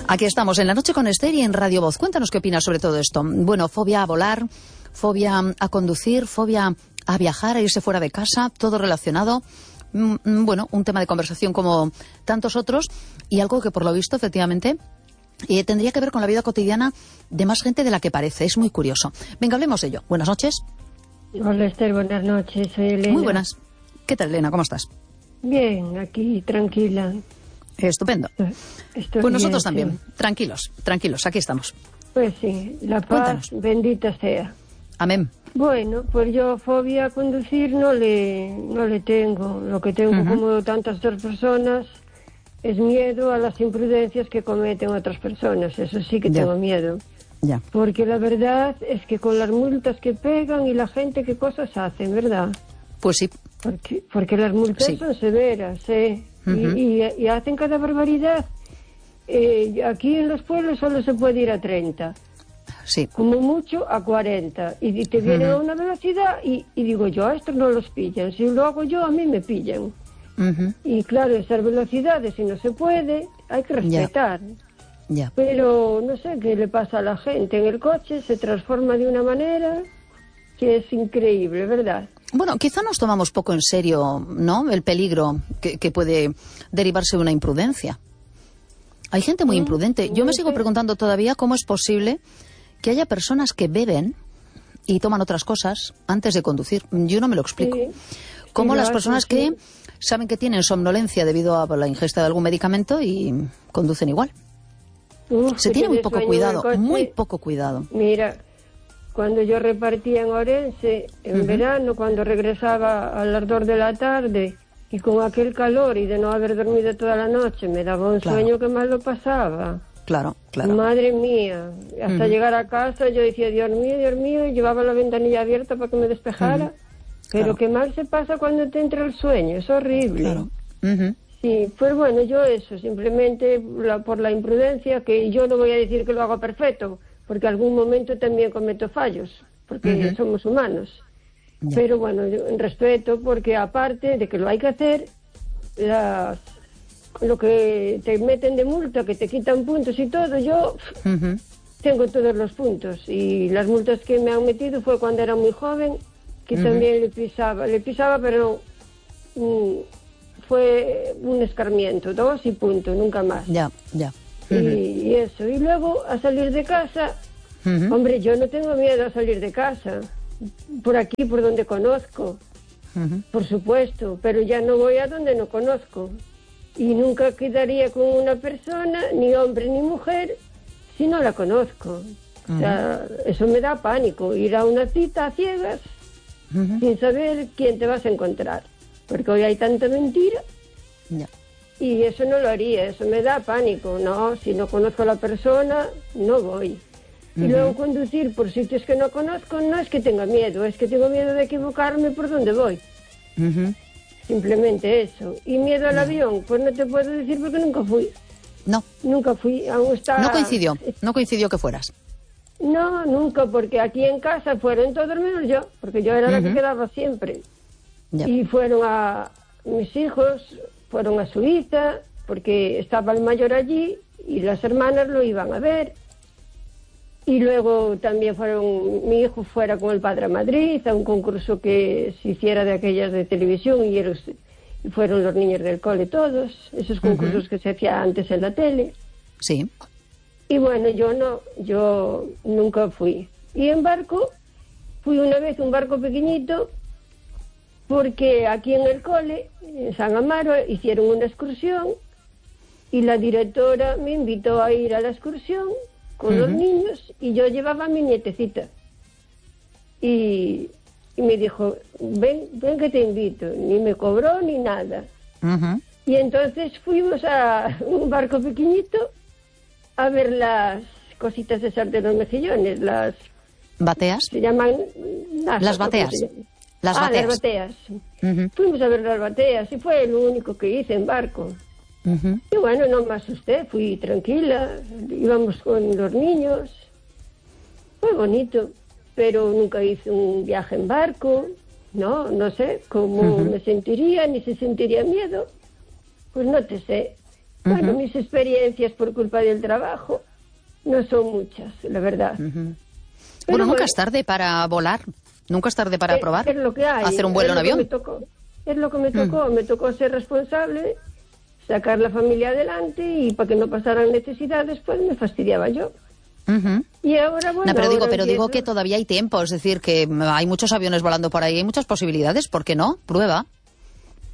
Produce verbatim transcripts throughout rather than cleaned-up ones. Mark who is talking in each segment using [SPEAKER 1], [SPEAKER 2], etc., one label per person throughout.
[SPEAKER 1] Aquí estamos en La Noche con Esther y en Radio Voz. Cuéntanos qué opinas sobre todo esto. Bueno, fobia a volar, fobia a conducir, fobia a viajar, a irse fuera de casa, todo relacionado. Mm, bueno, un tema de conversación como tantos otros y algo que por lo visto efectivamente eh, tendría que ver con la vida cotidiana de más gente de la que parece. Es muy curioso. Venga, hablemos de ello. Buenas noches.
[SPEAKER 2] Hola Esther, buenas noches. Soy Elena.
[SPEAKER 1] Muy buenas. ¿Qué tal, Elena? ¿Cómo estás?
[SPEAKER 2] Bien, aquí tranquila.
[SPEAKER 1] Estupendo.
[SPEAKER 2] Estoy
[SPEAKER 1] pues nosotros
[SPEAKER 2] bien,
[SPEAKER 1] también.
[SPEAKER 2] Sí.
[SPEAKER 1] Tranquilos, tranquilos. Aquí estamos.
[SPEAKER 2] Pues sí, la paz
[SPEAKER 1] Cuéntanos.
[SPEAKER 2] Bendita sea.
[SPEAKER 1] Amén.
[SPEAKER 2] Bueno, pues yo fobia a conducir no le, no le tengo. Lo que tengo, uh-huh. como tantas otras personas, es miedo a las imprudencias que cometen otras personas. Eso sí que
[SPEAKER 1] ya.
[SPEAKER 2] tengo miedo.
[SPEAKER 1] Ya.
[SPEAKER 2] Porque la verdad es que con las multas que pegan y la gente qué cosas hacen, ¿verdad?
[SPEAKER 1] Pues sí.
[SPEAKER 2] Porque, porque las multas
[SPEAKER 1] sí.
[SPEAKER 2] son severas, ¿eh? Uh-huh. y, y, y hacen cada barbaridad. Eh, aquí en los pueblos solo se puede ir a treinta.
[SPEAKER 1] Sí.
[SPEAKER 2] Como mucho a cuarenta. Y te vienen uh-huh. a una velocidad y, y digo yo, a estos no los pillan. Si lo hago yo, a mí me pillan. Uh-huh. Y claro, esas velocidades, si no se puede, hay que respetar.
[SPEAKER 1] Ya. Ya.
[SPEAKER 2] Pero no sé qué le pasa a la gente. En el coche se transforma de una manera que es increíble, ¿verdad?
[SPEAKER 1] Bueno, quizá nos tomamos poco en serio, ¿no?, el peligro que, que puede derivarse de una imprudencia. Hay gente muy imprudente. Yo me sigo preguntando todavía cómo es posible que haya personas que beben y toman otras cosas antes de conducir. Yo no me lo explico. Sí. Cómo sí, las personas sí, sí. que saben que tienen somnolencia debido a la ingesta de algún medicamento y conducen igual. Uf, Se tiene muy poco cuidado, muy poco cuidado.
[SPEAKER 2] Mira, cuando yo repartía en Orense, en uh-huh. verano, cuando regresaba a las dos de la tarde, y con aquel calor y de no haber dormido toda la noche, me daba un claro. sueño que mal lo pasaba.
[SPEAKER 1] Claro, claro.
[SPEAKER 2] Madre mía. Hasta uh-huh. llegar a casa yo decía, Dios mío, Dios mío, y llevaba la ventanilla abierta para que me despejara. Uh-huh. Pero claro. qué mal se pasa cuando te entra el sueño, es horrible.
[SPEAKER 1] Claro. Uh-huh.
[SPEAKER 2] Sí, pues bueno, yo eso, simplemente la, por la imprudencia, que yo no voy a decir que lo hago perfecto, porque algún momento también cometo fallos, porque uh-huh. somos humanos. Ya. Pero bueno, yo respeto, porque aparte de que lo hay que hacer, las, lo que te meten de multa, que te quitan puntos y todo, yo uh-huh. tengo todos los puntos. Y las multas que me han metido fue cuando era muy joven, que uh-huh. también le pisaba, le pisaba, pero um, fue un escarmiento, dos y punto, nunca más.
[SPEAKER 1] Ya, ya.
[SPEAKER 2] Uh-huh. Y, y eso, y luego a salir de casa, uh-huh. hombre, yo no tengo miedo a salir de casa, por aquí, por donde conozco, uh-huh. por supuesto, pero ya no voy a donde no conozco, y nunca quedaría con una persona, ni hombre ni mujer, si no la conozco. Uh-huh. O sea, eso me da pánico, ir a una cita a ciegas, uh-huh. sin saber quién te vas a encontrar, porque hoy hay tanta mentira.
[SPEAKER 1] Yeah.
[SPEAKER 2] Y eso no lo haría, eso me da pánico. No, si no conozco a la persona, no voy. Uh-huh. Y luego conducir por sitios que no conozco, no es que tenga miedo, es que tengo miedo de equivocarme por donde voy.
[SPEAKER 1] Uh-huh.
[SPEAKER 2] Simplemente eso. Y miedo al no. avión, pues no te puedo decir porque nunca fui.
[SPEAKER 1] No.
[SPEAKER 2] Nunca fui, aún está...
[SPEAKER 1] No coincidió, no coincidió que fueras.
[SPEAKER 2] No, nunca, porque aquí en casa fueron todos menos yo, porque yo era uh-huh. la que quedaba siempre. Yeah. Y fueron a... mis hijos fueron a Suiza, porque estaba el mayor allí, y las hermanas lo iban a ver. Y luego también fueron, mi hijo fuera con el padre a Madrid, a un concurso que se hiciera de aquellas de televisión, y, ellos, y fueron los niños del cole todos, esos concursos uh-huh. que se hacía antes en la tele.
[SPEAKER 1] Sí.
[SPEAKER 2] Y bueno, yo no, yo nunca fui. Y en barco, fui una vez un barco pequeñito, porque aquí en el cole, en San Amaro, hicieron una excursión, y la directora me invitó a ir a la excursión con uh-huh. los niños, y yo llevaba a mi nietecita. Y, y me dijo, ven, ven que te invito. Ni me cobró ni nada. Uh-huh. Y entonces fuimos a un barco pequeñito a ver las cositas esas de los mejillones, las...
[SPEAKER 1] ¿Bateas?
[SPEAKER 2] Se llaman...
[SPEAKER 1] Las, las bateas. Las
[SPEAKER 2] ah,
[SPEAKER 1] bateas.
[SPEAKER 2] las bateas.
[SPEAKER 1] Uh-huh.
[SPEAKER 2] Fuimos a ver las bateas, y fue lo único que hice en barco. Uh-huh. Y bueno, no me asusté, fui tranquila, íbamos con los niños, fue bonito, pero nunca hice un viaje en barco, no, no sé cómo uh-huh. me sentiría, ni si sentiría miedo, pues no te sé. Bueno,
[SPEAKER 1] Ujú.
[SPEAKER 2] mis experiencias por culpa del trabajo no son muchas, la verdad.
[SPEAKER 1] Ujú.
[SPEAKER 2] Pero
[SPEAKER 1] Bueno, nunca
[SPEAKER 2] bueno,
[SPEAKER 1] es tarde para volar, nunca es tarde para
[SPEAKER 2] es,
[SPEAKER 1] probar,
[SPEAKER 2] es lo que hay,
[SPEAKER 1] hacer un vuelo
[SPEAKER 2] es
[SPEAKER 1] en
[SPEAKER 2] lo que me
[SPEAKER 1] avión.
[SPEAKER 2] tocó. Es lo que me tocó, me tocó ser responsable, sacar la familia adelante y para que no pasaran necesidades, pues me fastidiaba yo.
[SPEAKER 1] Ujú.
[SPEAKER 2] Y ahora, bueno,
[SPEAKER 1] No, pero digo,
[SPEAKER 2] ahora
[SPEAKER 1] pero digo
[SPEAKER 2] empiezo-
[SPEAKER 1] que todavía hay tiempo, es decir, que mm, hay muchos aviones volando por ahí, hay muchas posibilidades, ¿por qué no? Prueba.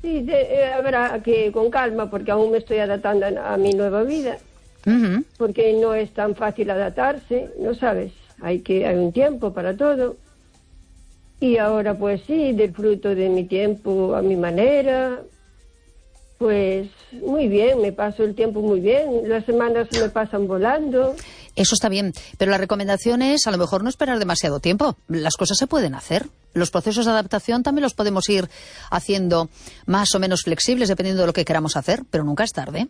[SPEAKER 2] Sí, de, eh, habrá que con calma, porque aún me estoy adaptando a, a mi nueva vida,
[SPEAKER 1] Ujú.
[SPEAKER 2] porque no es tan fácil adaptarse, ¿no sabes? Hay que hay un tiempo para todo. Y ahora, pues sí, disfruto de mi tiempo a mi manera. Pues muy bien, me paso el tiempo muy bien. Las semanas me pasan volando.
[SPEAKER 1] Eso está bien, pero la recomendación es a lo mejor no esperar demasiado tiempo. Las cosas se pueden hacer. Los procesos de adaptación también los podemos ir haciendo más o menos flexibles dependiendo de lo que queramos hacer, pero nunca es tarde.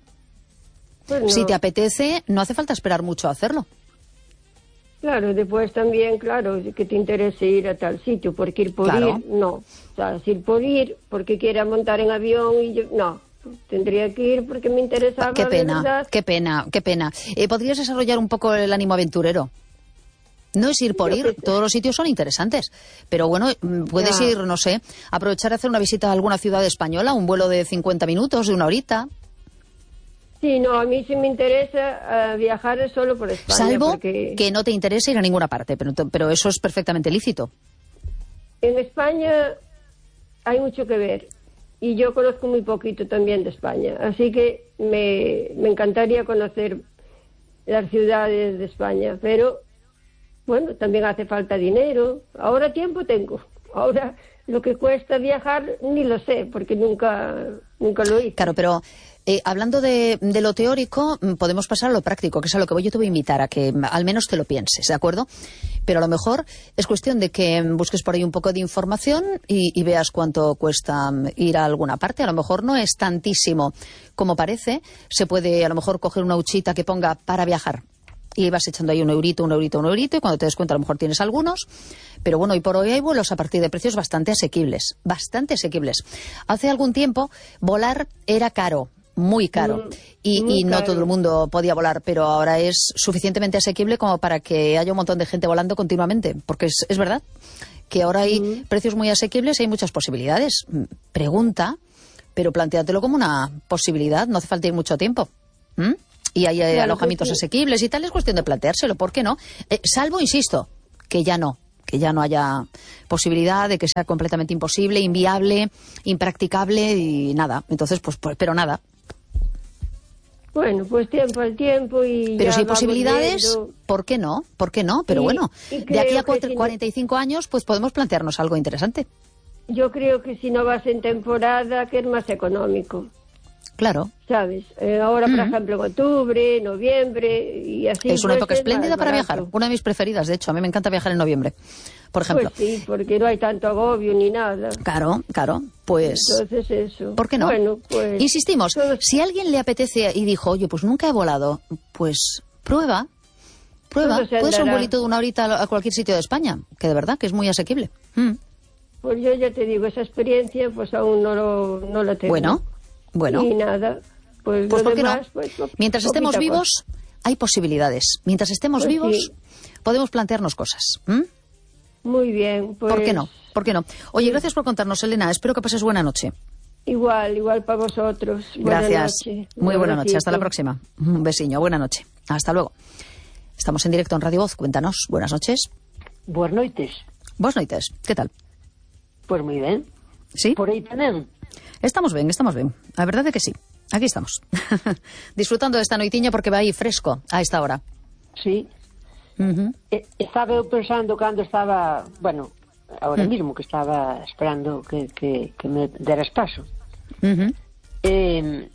[SPEAKER 2] Pues no.
[SPEAKER 1] Si te apetece, no hace falta esperar mucho a hacerlo.
[SPEAKER 2] Claro, después también, claro, que te interese ir a tal sitio, porque ir por
[SPEAKER 1] Claro.
[SPEAKER 2] ir, no. O sea, si ir por ir, porque quiera montar en avión y yo, no. Tendría que ir porque me interesaba,
[SPEAKER 1] Qué
[SPEAKER 2] de
[SPEAKER 1] pena,
[SPEAKER 2] verdad.
[SPEAKER 1] qué pena, qué pena. Eh, ¿Podrías desarrollar un poco el ánimo aventurero? No es ir por
[SPEAKER 2] Yo
[SPEAKER 1] ir,
[SPEAKER 2] qué sé.
[SPEAKER 1] todos los sitios son interesantes, pero bueno, mm, puedes
[SPEAKER 2] Ya.
[SPEAKER 1] ir, no sé, aprovechar a hacer una visita a alguna ciudad española, un vuelo de cincuenta minutos, de una horita,
[SPEAKER 2] Sí, no, a mí sí me interesa eh, viajar solo por España.
[SPEAKER 1] salvo
[SPEAKER 2] porque
[SPEAKER 1] que no te interese ir a ninguna parte, pero, pero eso es perfectamente lícito.
[SPEAKER 2] en España hay mucho que ver. Y yo conozco muy poquito también de España. Así que me, me encantaría conocer las ciudades de España. Pero, bueno, también hace falta dinero. Ahora tiempo tengo. Ahora lo que cuesta viajar ni lo sé, porque nunca, nunca lo hice.
[SPEAKER 1] Claro, pero eh, hablando de, de lo teórico, mm, podemos pasar a lo práctico, que es a lo que voy. Yo te voy a invitar a que mm, al menos te lo pienses, ¿de acuerdo? Pero a lo mejor es cuestión de que mm, busques por ahí un poco de información y, y veas cuánto cuesta mm, ir a alguna parte. A lo mejor no es tantísimo como parece. Se puede a lo mejor coger una huchita que ponga para viajar. Y vas echando ahí un eurito, un eurito, un eurito, y cuando te des cuenta a lo mejor tienes algunos. Pero bueno, hoy por hoy hay vuelos a partir de precios bastante asequibles, bastante asequibles. Hace algún tiempo volar era caro, muy caro,
[SPEAKER 2] Mm,
[SPEAKER 1] y,
[SPEAKER 2] muy
[SPEAKER 1] y no
[SPEAKER 2] caro.
[SPEAKER 1] todo el mundo podía volar, pero ahora es suficientemente asequible como para que haya un montón de gente volando continuamente, porque es, es verdad que ahora hay
[SPEAKER 2] Mm.
[SPEAKER 1] precios muy asequibles y hay muchas posibilidades. Mm, Pregunta, pero plantéatelo como una posibilidad, no hace falta ir mucho tiempo. ¿Mm? Y hay eh,
[SPEAKER 2] Claro,
[SPEAKER 1] alojamientos
[SPEAKER 2] pues sí.
[SPEAKER 1] asequibles y tal, es cuestión de planteárselo, ¿por qué no? Eh, salvo, insisto, que ya no, que ya no haya posibilidad de que sea completamente imposible, inviable, impracticable y nada. Entonces, pues, pues pero nada.
[SPEAKER 2] Bueno, pues tiempo al tiempo y
[SPEAKER 1] Pero
[SPEAKER 2] ya
[SPEAKER 1] si hay
[SPEAKER 2] vamos
[SPEAKER 1] posibilidades,
[SPEAKER 2] viendo.
[SPEAKER 1] ¿por qué no? ¿Por qué no? Pero
[SPEAKER 2] Y-
[SPEAKER 1] bueno,
[SPEAKER 2] y
[SPEAKER 1] de aquí a
[SPEAKER 2] creo que
[SPEAKER 1] cuatro-
[SPEAKER 2] si no-
[SPEAKER 1] cuarenta y cinco años, pues podemos plantearnos algo interesante.
[SPEAKER 2] Yo creo que si no vas en temporada, que es más económico,
[SPEAKER 1] Claro.
[SPEAKER 2] ¿sabes? Eh, ahora, por
[SPEAKER 1] Ujú.
[SPEAKER 2] ejemplo, en octubre, noviembre y así.
[SPEAKER 1] Es una
[SPEAKER 2] pues,
[SPEAKER 1] época
[SPEAKER 2] es
[SPEAKER 1] espléndida
[SPEAKER 2] más
[SPEAKER 1] para
[SPEAKER 2] barato.
[SPEAKER 1] viajar. Una de mis preferidas, de hecho. A mí me encanta viajar en noviembre, por ejemplo.
[SPEAKER 2] Pues sí, porque no hay tanto agobio ni nada.
[SPEAKER 1] Claro, claro. Pues,
[SPEAKER 2] Entonces eso.
[SPEAKER 1] ¿por qué no?
[SPEAKER 2] Bueno, pues...
[SPEAKER 1] Insistimos,
[SPEAKER 2] todos-
[SPEAKER 1] si a alguien le apetece y dijo, oye, pues nunca he volado, pues prueba, prueba.
[SPEAKER 2] Todo se
[SPEAKER 1] Puede ser un
[SPEAKER 2] andará.
[SPEAKER 1] vuelito de una horita a cualquier sitio de España, que de verdad que es muy asequible. Mm.
[SPEAKER 2] Pues yo ya te digo, esa experiencia pues aún no, lo, no la tengo.
[SPEAKER 1] Bueno, bueno.
[SPEAKER 2] Y nada, pues,
[SPEAKER 1] Pues
[SPEAKER 2] lo
[SPEAKER 1] ¿por qué
[SPEAKER 2] demás,
[SPEAKER 1] no?
[SPEAKER 2] pues, po-
[SPEAKER 1] Mientras estemos
[SPEAKER 2] poquita
[SPEAKER 1] vivos, hay posibilidades. Mientras estemos
[SPEAKER 2] Pues
[SPEAKER 1] vivos,
[SPEAKER 2] sí.
[SPEAKER 1] podemos plantearnos cosas. ¿Mm?
[SPEAKER 2] cosa. Muy bien, pues...
[SPEAKER 1] ¿Por qué no? ¿Por qué no? Oye, gracias por contarnos, Elena. Espero que pases buena noche.
[SPEAKER 2] Igual, igual para vosotros. Buena
[SPEAKER 1] Gracias.
[SPEAKER 2] noche.
[SPEAKER 1] Muy
[SPEAKER 2] Un
[SPEAKER 1] buena noche. Hasta la
[SPEAKER 2] abracito.
[SPEAKER 1] próxima. Un besiño. Buena noche. Hasta luego. Estamos en directo en Radio Voz. Cuéntanos. Buenas noches.
[SPEAKER 3] Boas noites.
[SPEAKER 1] Buenas noites. ¿Qué tal?
[SPEAKER 3] Pois moi ben.
[SPEAKER 1] ¿Sí?
[SPEAKER 3] Por aí tamén.
[SPEAKER 1] Estamos bien, estamos bien. La verdad es que sí. Aquí estamos. Disfrutando de esta noitiña porque va aí fresco a esta hora.
[SPEAKER 3] Sí.
[SPEAKER 1] Ujú.
[SPEAKER 3] E, estaba eu pensando cando estaba, bueno, ahora mismo que estaba esperando que, que, que me deras paso.
[SPEAKER 1] Ujú.
[SPEAKER 3] Eh,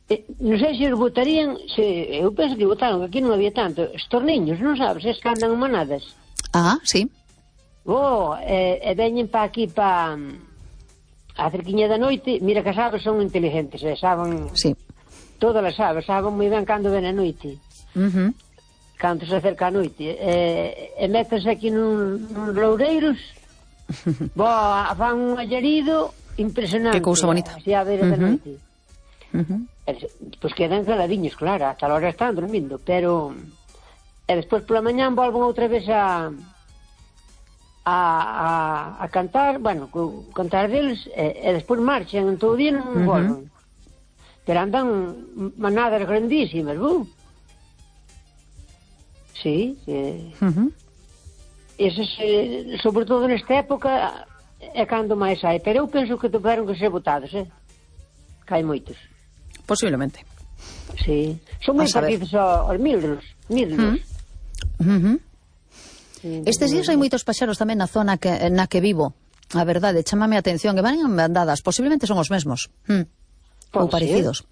[SPEAKER 3] eh, non sei se os votarían, se, eu penso que votaron, que aquí non había tanto. Estos niños, non sabes, es que andan manadas.
[SPEAKER 1] Ah, sí.
[SPEAKER 3] Oh, e, e veñen pa aquí pa a cerquiña da noite. Mira que as aves son inteligentes, e saben
[SPEAKER 1] Sí.
[SPEAKER 3] todas as aves, saben moi ben cando ven a noite.
[SPEAKER 1] Ujú.
[SPEAKER 3] Cando se acerca a noite. E, e métanse aquí nun, nun loureiros. Bo, fan un allarido impresionante.
[SPEAKER 1] Que cousa bonita.
[SPEAKER 3] Así a beira da
[SPEAKER 1] Ujú.
[SPEAKER 3] noite.
[SPEAKER 1] Uh-huh.
[SPEAKER 3] Pois quedan caladiños, claro, hasta a hora están dormindo, pero e despois pola mañán volven outra vez a a, a, a cantar, bueno, cantar deles, e, e despois marchan en todo o día non uh-huh. volven. Pero andan manadas grandísimas, ¿bu? Sí, eh,
[SPEAKER 1] uh-huh.
[SPEAKER 3] eses, eh, sobre todo nesta época é cando máis hai, pero eu penso que tiveron que ser botados, eh? Que hai moitos.
[SPEAKER 1] Posiblemente.
[SPEAKER 3] Sí, son moi parecidos aos milros, milros.
[SPEAKER 1] Uh-huh. Uh-huh. Sí, estes días hai moitos paxaros tamén na zona que, na que vivo. A verdade, chámame a atención, que van en bandadas, posiblemente son os mesmos. Hmm. Ou parecidos.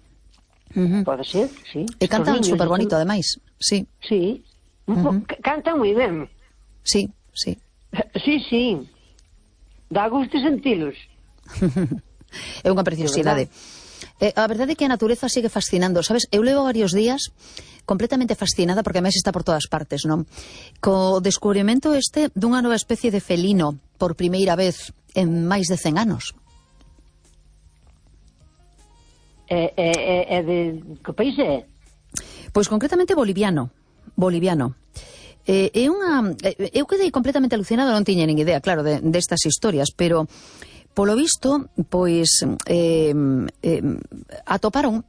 [SPEAKER 3] Uh-huh. Pode ser, sí.
[SPEAKER 1] E cantan super bonito, ademais. Sí.
[SPEAKER 3] Sí. Uh-huh. Cantan moi ben.
[SPEAKER 1] Sí, sí.
[SPEAKER 3] Sí, sí. Dá gusto sentilos.
[SPEAKER 1] É unha preciosidade. Eh, a verdade é que a natureza sigue fascinando, sabes? Eu levo varios días completamente fascinada, porque a máis está por todas partes, non? Co descubrimento este dunha nova especie de felino por primeira vez en máis de cen anos.
[SPEAKER 3] É, é, é de... que país é?
[SPEAKER 1] Pois concretamente boliviano. Boliviano. Eh, é unha... Eu quedei completamente alucinada, non tiña nin idea, claro, de, destas historias, pero polo visto, pois eh, eh, atoparon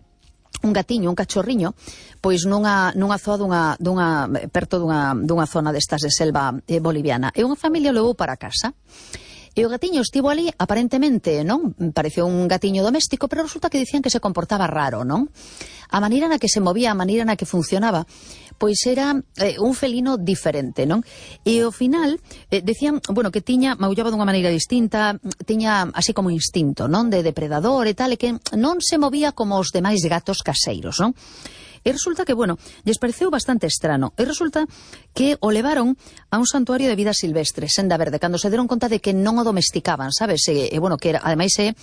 [SPEAKER 1] un gatiño, un cachorriño, pois nunha, nunha zoa dunha, dunha, perto dunha, dunha zona destas de selva eh, boliviana. E unha familia o levou para casa. E o gatiño estivo ali, aparentemente, non? Pareceu un gatiño doméstico, pero resulta que dicían que se comportaba raro, non? A maneira na que se movía, a maneira na que funcionaba, pois era eh, un felino diferente, non? E ao final, eh, decían, bueno, que tiña, maullaba dunha maneira distinta, tiña así como instinto, non? De depredador e tal, e que non se movía como os demais gatos caseiros, non? E resulta que, bueno, lles pareceu bastante estrano. E resulta que o levaron a un santuario de vida silvestre, Senda Verde, cando se deron conta de que non o domesticaban, sabes? E, e bueno, que era, ademais é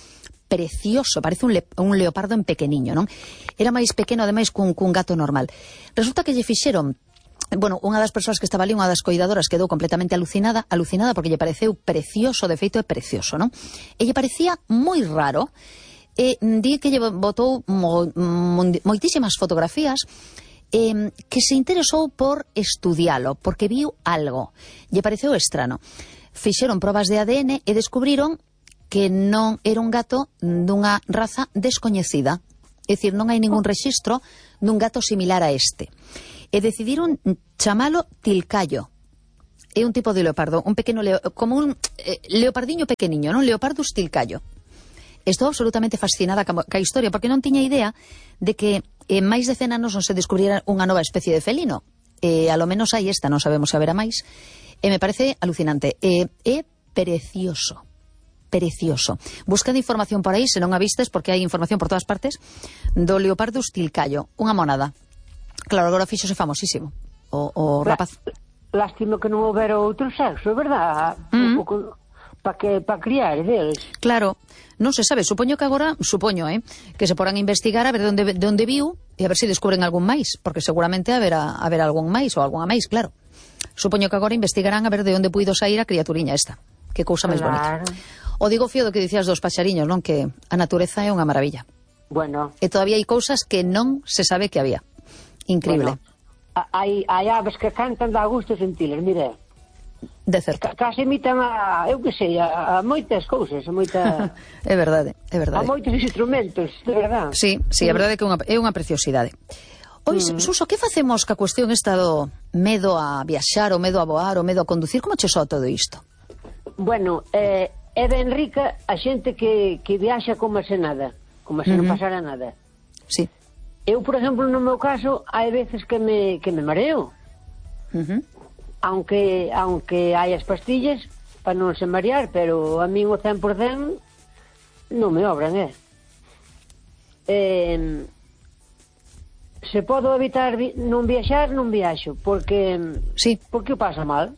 [SPEAKER 1] precioso, parece un, le, un leopardo en pequeniño, non? Era máis pequeno, ademais, cun, cun gato normal. Resulta que lle fixeron, bueno, unha das persoas que estaba ali, unha das coidadoras, quedou completamente alucinada, alucinada porque lle pareceu precioso, de feito é precioso, non? E lle parecía moi raro. E di que lle botou mo, mo, moitísimas fotografías, eh, que se interesou por estudialo, porque viu algo. Lle pareceu estrano. Fixeron probas de A D N e descubriron que non era un gato dunha raza descoñecida. É dicir, non hai ningún rexistro dun gato similar a este. E decidiron chamalo Tilcayo. É un tipo de leopardo, un pequeno leo, como un eh, leopardiño pequeniño, non? Leopardus Tilcayo. Estou absolutamente fascinada ca historia, porque non tiña idea de que en máis de cen anos non se descubriera unha nova especie de felino. E a lo menos hai esta, non sabemos se haberá máis. E me parece alucinante. E é precioso. Precioso. Buscad información por aí, se non a vistes, porque hai información por todas partes, do Leopardus Tilcayo. Unha monada. Claro, agora fíxose famosísimo. O, o rapaz.
[SPEAKER 3] Lástima que non houbera outro sexo, verdad? Mm. Un pouco... para que para criar deles.
[SPEAKER 1] Claro, non se sabe, supoño que agora, supoño, eh, que se porán a investigar a ver de onde, de onde viu e a ver se descubren algún máis, porque seguramente haberá, haberá algún máis ou algunha máis, claro. Supoño que agora investigarán a ver de onde puido sair a criaturiña esta. Que cousa máis
[SPEAKER 3] claro.
[SPEAKER 1] bonita. O digo fío do que dicías dos paxariños, non? Que a natureza é unha maravilla.
[SPEAKER 3] Bueno.
[SPEAKER 1] E todavía hai cousas que non se sabe que había. Increíble.
[SPEAKER 3] Bueno, hai, hai aves que cantan, dá gusto sentilas, mire.
[SPEAKER 1] De certo.
[SPEAKER 3] Case imitan a, eu que sei, a, a moitas cousas, a moita...
[SPEAKER 1] é verdade, é verdade.
[SPEAKER 3] A moitos instrumentos, de verdade.
[SPEAKER 1] Sí, sí, é verdade que é unha, é unha preciosidade. Ois, mm. Suso, que facemos ca cuestión esta do medo a viaxar, o medo a voar, o medo a conducir? Como che soa todo isto?
[SPEAKER 3] Bueno, eh, é ben rica a xente que, que viaxa como se nada, como se mm-hmm. non pasara nada.
[SPEAKER 1] Sí.
[SPEAKER 3] Eu, por exemplo, no meu caso, hai veces que me, que me mareo.
[SPEAKER 1] Mhm.
[SPEAKER 3] Aunque aunque hai as pastillas para non se marear, pero a min o cen por cen non me obran, eh? eh se podo evitar vi non viaxar, non viaxo, porque
[SPEAKER 1] sí.
[SPEAKER 3] porque o pasa mal.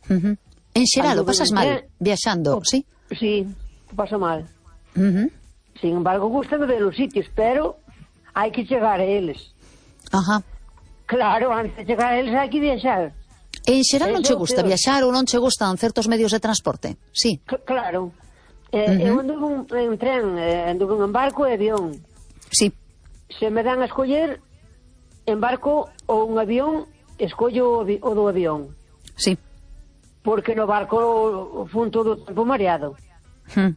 [SPEAKER 1] Uh -huh. En xeral, o pasas mal viaxando,
[SPEAKER 3] o,
[SPEAKER 1] sí?
[SPEAKER 3] Sí, o paso mal.
[SPEAKER 1] Uh -huh.
[SPEAKER 3] Sin embargo, gustame ver os sitios, pero hai que chegar a eles.
[SPEAKER 1] Ajá.
[SPEAKER 3] Claro, antes de chegar a eles hai que viaxar.
[SPEAKER 1] En xeral non che gusta viaxar ou non che gustan certos medios de transporte? Sí.
[SPEAKER 3] C claro. Eh, uh -huh. Eu anduve en tren, eh, anduve en barco e avión.
[SPEAKER 1] Sí.
[SPEAKER 3] Se me dan a escoller en barco ou un avión, escollo o, o do avión.
[SPEAKER 1] Sí.
[SPEAKER 3] Porque no barco fun todo o tempo mareado.
[SPEAKER 1] Mm.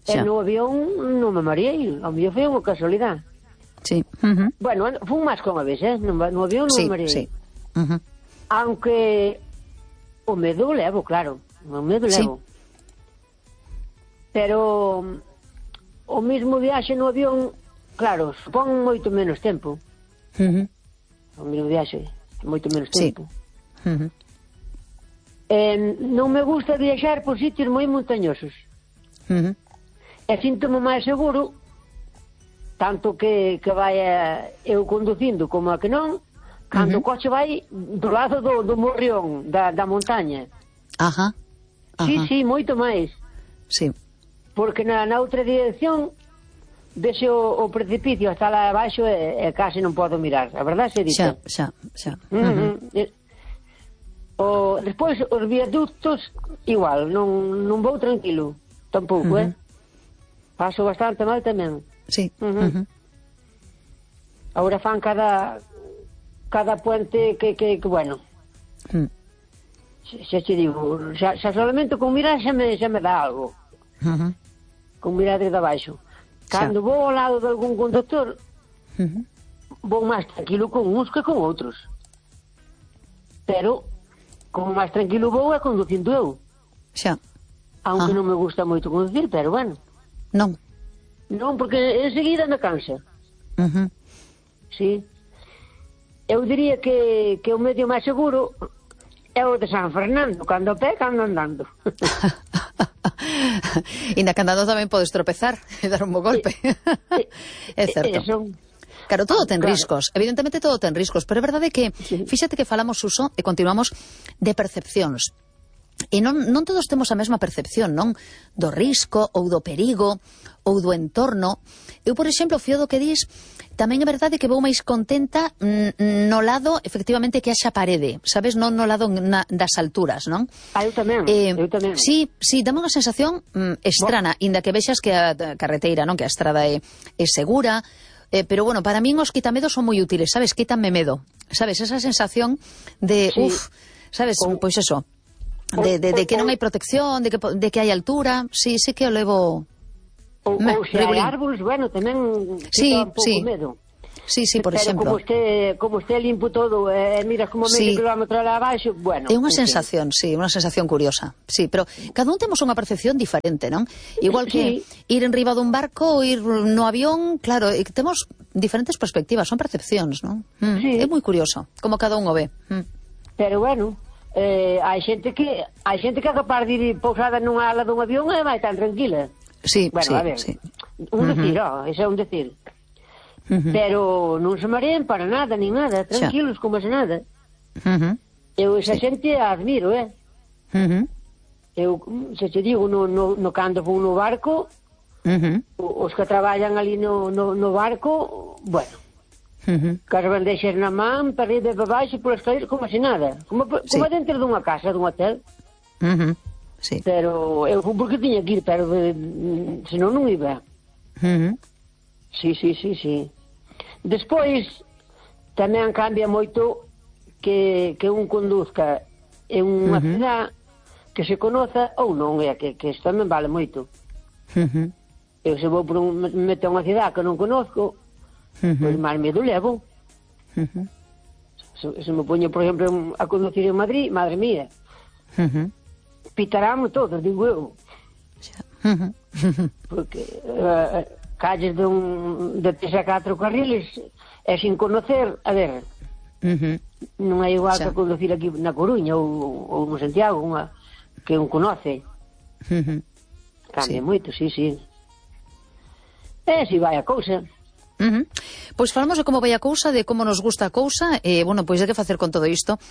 [SPEAKER 3] E no avión non me mareei, ao mellor foi unha casualidade.
[SPEAKER 1] Sí. Uh-huh.
[SPEAKER 3] Bueno, fun máis que unha vez, eh? No, no avión non
[SPEAKER 1] sí,
[SPEAKER 3] me mareei.
[SPEAKER 1] Sí. Uh-huh.
[SPEAKER 3] Aunque o medo levo, claro, o medo levo. Sí. Pero o mismo viaxe no avión, claro, supón moito menos tempo.
[SPEAKER 1] Uh-huh.
[SPEAKER 3] O mismo viaxe, moito menos tempo.
[SPEAKER 1] Sí. Uh-huh.
[SPEAKER 3] Eh, non me gusta viaxar por sitios moi montañosos.
[SPEAKER 1] Uh-huh.
[SPEAKER 3] E síntome máis seguro, tanto que, que vaya eu conducindo como a que non, cando uh-huh. o coche vai do lado do, do morrión, da, da montaña.
[SPEAKER 1] Ajá. Ajá.
[SPEAKER 3] Sí, sí, moito máis.
[SPEAKER 1] Sí.
[SPEAKER 3] Porque na, na outra dirección vese o, o precipicio hasta lá abaixo e, e case non podo mirar. A verdade se dice.
[SPEAKER 1] Xa, xa, xa.
[SPEAKER 3] Uh-huh. Uh-huh. O, despois, os viaductos, igual, non, non vou tranquilo. Tampouco, uh-huh. eh? Paso bastante mal tamén.
[SPEAKER 1] Sí.
[SPEAKER 3] Uh-huh.
[SPEAKER 1] Uh-huh.
[SPEAKER 3] Ahora fan cada... cada puente que, que, que bueno, mm. xa te digo, xa, xa solamente con mirar xa me, xa me dá algo. Uh-huh. Con mirar desde abaixo. Cando xa. Vou ao lado de algún conductor, uh-huh. vou máis tranquilo con uns que con outros. Pero, como máis tranquilo vou é conducindo eu.
[SPEAKER 1] Xa.
[SPEAKER 3] Aunque
[SPEAKER 1] ah.
[SPEAKER 3] non me gusta moito conducir, pero bueno.
[SPEAKER 1] Non.
[SPEAKER 3] Non, porque enseguida me cansa.
[SPEAKER 1] Uh-huh.
[SPEAKER 3] Sí. Eu diría que, que o medio máis seguro é o de San Fernando, cando a pé, cando andando.
[SPEAKER 1] E na que andando tamén podes tropezar e dar un bo golpe. É certo. Eso. Claro, todo ten claro. riscos, evidentemente todo ten riscos, pero é verdade que, sí. fíxate que falamos, Suso, e continuamos de percepcións. E non, non todos temos a mesma percepción, non? Do risco, ou do perigo, ou do entorno. Eu, por exemplo, fío do que dis, tamén é verdade que vou máis contenta no lado, efectivamente, que haxa parede, sabes? Non no lado na, das alturas, non?
[SPEAKER 3] Ah, eu tamén, eh, eu tamén.
[SPEAKER 1] Sí, sí, dame unha sensación mm, estrana, bueno. Inda que vexas que a carreteira, non? Que a estrada é, é segura, eh, pero, bueno, para min os quitamedos son moi útiles, sabes? Quítanme medo, sabes? Esa sensación de, sí. uf, sabes? Con... Pois eso, de, de, de que non hai protección, de que, de que hai altura, sí, sí que o levo...
[SPEAKER 3] Ou, Me, ou se hai árboles, bueno, tamén
[SPEAKER 1] sí,
[SPEAKER 3] un pouco
[SPEAKER 1] sí.
[SPEAKER 3] medo.
[SPEAKER 1] Sí, sí, por
[SPEAKER 3] pero
[SPEAKER 1] exemplo.
[SPEAKER 3] Como este, como este limpo todo, eh, miras como medio sí. kilómetro lá abaixo, bueno.
[SPEAKER 1] É unha sensación, sí, unha sensación curiosa. Sí, pero cada un temos unha percepción diferente, non? Igual que sí. ir enriba dun barco ou ir no avión, claro, temos diferentes perspectivas, son percepcións, non? Mm, sí. É moi curioso, como cada un o ve. Mm.
[SPEAKER 3] Pero bueno, eh, hai xente que hai xente que é capaz de ir pousada nunha ala dun avión e vai tan tranquila.
[SPEAKER 1] Sí,
[SPEAKER 3] bueno,
[SPEAKER 1] sí,
[SPEAKER 3] a ver,
[SPEAKER 1] sí.
[SPEAKER 3] un decir, uh-huh. oh, ese é un decir. Uh-huh. Pero non se marean para nada, nin nada, tranquilos, xa. Como se nada. Uh-huh. Eu esa sí. xente a admiro, eh? Uh-huh. Eu, se te digo, no, no, no cando vou no barco, uh-huh. os que traballan ali no, no, no barco, bueno, uh-huh. que as bandeixas na man, para arriba e para baixo, por escaleras, como se nada. Como, sí. como dentro dunha casa, dun hotel.
[SPEAKER 1] Uh-huh. Sí.
[SPEAKER 3] Pero eu fui porque tiña que ir, pero de, senón non iba. Uh-huh. Sí, sí, sí, sí. Despois tamén cambia moito que, que un conduzca en unha uh-huh. cidade que se conoza ou non, é que, que isto tamén vale moito. Uh-huh. Eu se vou por un, me meto a unha cidade que non conozco, uh-huh. pois máis medo levo. Uh-huh. Se, se me poño, por exemplo, a conducir en Madrid, madre mía. Uh-huh. Pitaramos todos, digo eu. Uh-huh. Porque uh, calles de un de tres a catro carriles e sin conocer, a ver, uh-huh. non é igual xa. Que conducir aquí na Coruña ou, ou no Santiago, unha, que un conoce. Uh-huh. Cambia sí. moito, sí, sí. E si vai a cousa.
[SPEAKER 1] Uh-huh. Pois falamos de como vai a cousa, de como nos gusta a cousa, e, bueno, pois de que facer con todo isto,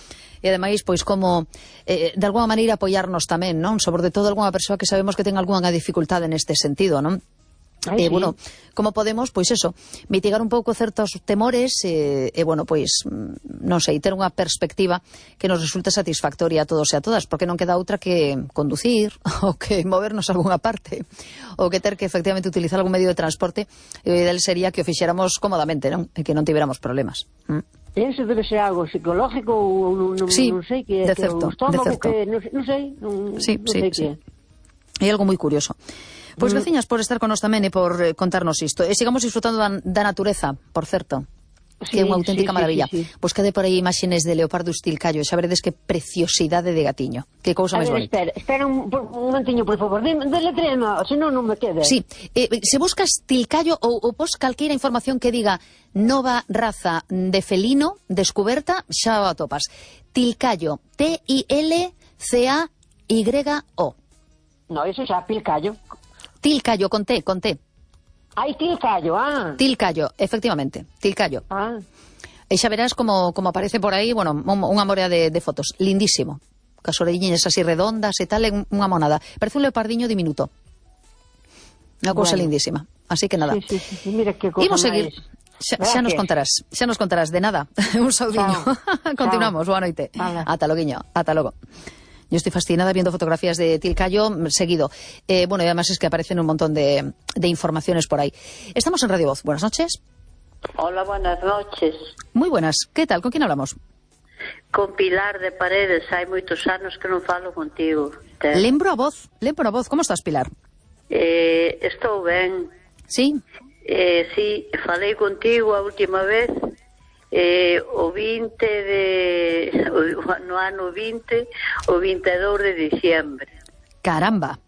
[SPEAKER 1] e ademais, pois como eh, de alguna maneira apoiarnos tamén, non? Sobre todo algunha persoa que sabemos que ten algunha dificultade neste sentido, non? Ai, eh, sí. Bueno, como podemos, pois eso, mitigar un pouco certos temores e, eh, eh, bueno, pois, non sei, ter unha perspectiva que nos resulte satisfactoria a todos e a todas, porque non queda outra que conducir, ou que movernos a algunha parte, ou que ter que efectivamente utilizar algún medio de transporte, e o ideal sería que o fixéramos cómodamente, non? E que non tivéramos problemas. Mm.
[SPEAKER 3] Eso debe ser algo psicológico ou non, non,
[SPEAKER 1] sí,
[SPEAKER 3] non sei que,
[SPEAKER 1] de certo,
[SPEAKER 3] que o estómago,
[SPEAKER 1] de certo.
[SPEAKER 3] que non, non sei, non,
[SPEAKER 1] sí,
[SPEAKER 3] non
[SPEAKER 1] sí,
[SPEAKER 3] sei
[SPEAKER 1] sí.
[SPEAKER 3] que.
[SPEAKER 1] É algo moi curioso. Pois, mm. veciñas, por estar con nos tamén e por eh, contarnos isto. E sigamos disfrutando da, da natureza, por certo,
[SPEAKER 3] sí,
[SPEAKER 1] que é unha auténtica
[SPEAKER 3] sí,
[SPEAKER 1] maravilla.
[SPEAKER 3] Sí, sí, sí.
[SPEAKER 1] Pois cade por aí imaxines de leopardo estilcallo, xa veredes que preciosidade de gatiño. Que cousa máis bonita.
[SPEAKER 3] Espera, espera un, un momentiño, por favor. Deletréame, senón non me quede.
[SPEAKER 1] Sí, eh, se buscas tilcallo ou, ou pos calqueira información que diga nova raza de felino descuberta, xa o atopas. Tilcallo, T I L C A Y O.
[SPEAKER 3] No, eso xa, pilcallo.
[SPEAKER 1] Tilcallo, con T, con T.
[SPEAKER 3] Ai, tilcallo, ah.
[SPEAKER 1] Tilcallo, efectivamente, tilcallo.
[SPEAKER 3] Ah.
[SPEAKER 1] E xa verás como, como aparece por aí, bueno, unha morea de, de fotos. Lindísimo. Cas orelliñas así redondas e tal, unha monada. Parece un leopardiño diminuto. Unha cousa bueno. lindísima. Así que nada.
[SPEAKER 3] Sí, sí, sí, mira que cosa
[SPEAKER 1] Imos seguir. Xa, xa nos contarás, xa nos contarás de nada. Un saudiño. Continuamos, boa noite. Vale. Ata loguiño, ata logo. Yo estoy fascinada viendo fotografías de tilcallo seguido. Eh, bueno, y además es que aparecen un montón de, de informaciones por ahí. Estamos en Radio Voz. Buenas noches.
[SPEAKER 4] Hola, buenas noches.
[SPEAKER 1] Muy buenas. ¿Qué tal? ¿Con quién hablamos?
[SPEAKER 4] Con Pilar de Paredes. Hai moitos anos que non falo contigo. Te...
[SPEAKER 1] Lembro a voz, lembro a voz. ¿Cómo estás, Pilar?
[SPEAKER 4] Eh, estou ben.
[SPEAKER 1] Sí?
[SPEAKER 4] Eh, sí, falei contigo a última vez eh, o vinte de no ano vinte, o vinte e dous de diciembre.
[SPEAKER 1] Caramba.